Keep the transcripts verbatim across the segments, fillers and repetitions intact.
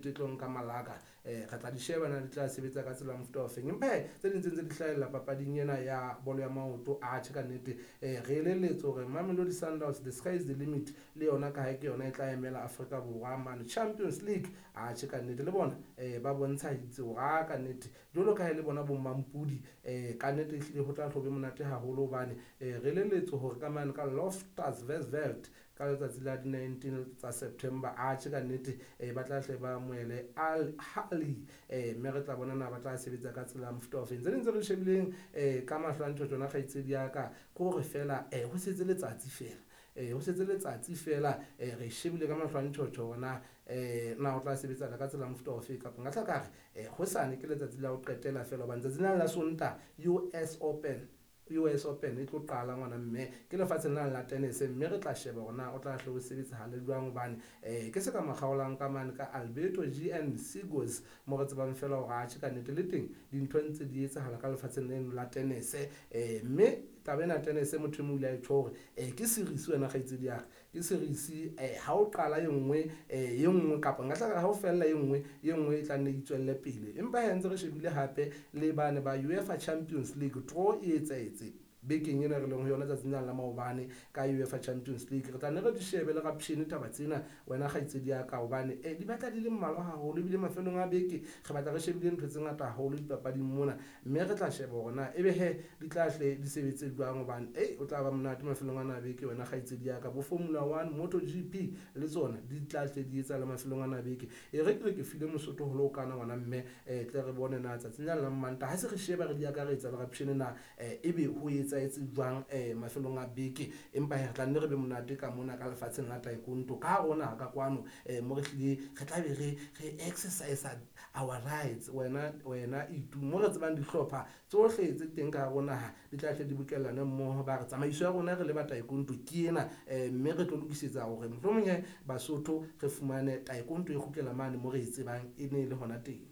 E tlo nka malaka um re tla di sheba na di tla sebetsa ka tsela ya mofuta ofeng. Empa he tse ding tse ntse di hlahella papading ena ya bolo ya maoto, atjhe ka nnete um re elelletse hore Mamelodi Sundowns, the sky is the limit le yona, ka ha ke yona e tla emela Afrika Borwa mane Champions League. Atjhe ka nnete le bona um ba bontshahitse hore a ka nnete jwalo ka ha e le bona bo mampudi um ka nnete ehlile ho tla hlo be monate haholo hobane um re elelletse hore ka mane ka Loftus Versfeld ka letsatsi la di-nineteen tsa September, atjhe ka nnete um ba tla hle ba amohele Al Ahly um mme re tla bona na ba tla sebetsa ka tsela ya mofuta ofeng. Tse ding tse re shebileng um ka mahlo a ntho tsona, kgaitsedi ya ka, ke hore fela um ho setse letsatsi fela um ho setse letsatsi fela um re shebile ka mahlo a ntjhotjho hore na um na o tla sebetsana ka tsela ya mofuta ofe, kapa nka hla ka re um hosane ke letsatsi la ho qetela fela hobane tsatsi lena la Sontaha U S Open U S Open e tlo qala, ngwana mme, ke lefatsheng lena la tennis, mme re tla sheba hore na o tla hle o sebetsahale jwang hobane um ke se ka makgaolang ka mane ka Alberto G N Sigos mo re tsebang fela hore atjhe ka nnete le teng dintho ntse di etsahala ka lefatsheng leno la tennis um mme taba ena tennis, motho e mong o ile a e tjho hore um ke series, wena kgaitsedi ya ka, ke series um ha o qala e nngwe um e nngwe, kapa nka hla ha o fella e nngwe, e nngwe e tla nne e tswelle pele. Empa he ntse re shebile hape le bane ba UEFA Champions League, draw e etsahetse bekeng ena re leng ho yona tsatsing lena la maobane ka UEFA Champions League. Re tla nne re di shebe le rapshene taba tsena, wena kgaitsedi ya ka, hobane eh, di batla di le mmalwa haholo ebile mafelong a beke re batla re shebile ntho tse ngata haholo dipapading mona, mme re tla sheba hore na ebe he di tla hle di sebetse jwang hobane ei o tla ba monate mafelong ana a beke, wena kgaitsedi ya ka. Bo Formula One, Moto G P le tsona di tla hle di etsa le mafelong ana a beke. E re ke re ke file Mosotho ho le ho kana, ngwana mme, um tle re bone na tsatsing lena la Mmantaha ha se re sheba re di akaretsa le rapshene na um ebe ho etsahetse jwang um mafelong a beke. Empa he re tla nne re be monate ka mona ka lefatsheng la taekwondo ka rona ka kwano um mo re hlile re tla be re re exercise our rights, wena wena itu mo re tsebang dihlopha tsohle tse teng ka hare ho naha di tla hle di bokellane mmoho, ba re tsamaiso ya rona re le ba taekwondo ke ena um mme re tlo lokisetsa hore mohlomong he Basotho re fumane taekwondo e kgutlela mane mo re e tsebang e ne e le hona teng.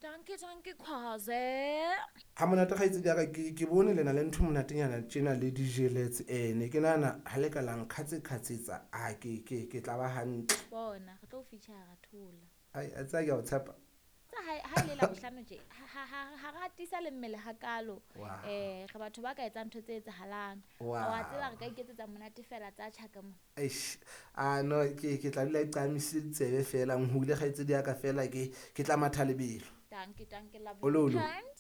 Danke, danke, Khwaze. Ha monate, kgaitsedi ya ka, ke ke bone lena le ntho monatenyana tjena le dijeletse um ne ke nahana ha le ka la nkgatse-kgatsetsa a ke ke ke tla ba hantle. Bona, re tlo o feature thola. Ai, a tseba ke a o tshepa. Tsa ha ha e le Labohlano tje, ha ha ha ha re atisa le mmele hakalo. Wow. Eh re batho ba ka etsang ntho tse etsahalang. Wow. Wa tseba re ka iketsetsa monate fela tsa tjhaka mona. Eish, a no ke ke tla dula ke qamisitse ditsebe fela nhule, kgaitsedi ya ka, fela ke ke tla matha lebelo. Danke, danke, love Ololo. Weekend.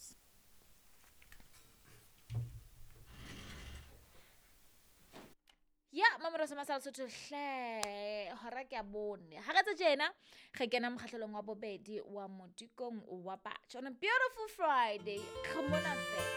Ya Mamelodi sa Lesotho hle, hora ke ya bone ha re tse tjena re kena mokgahlelong wa bobedi wa Modikong wa Batjha on a beautiful Friday. Re mona fela.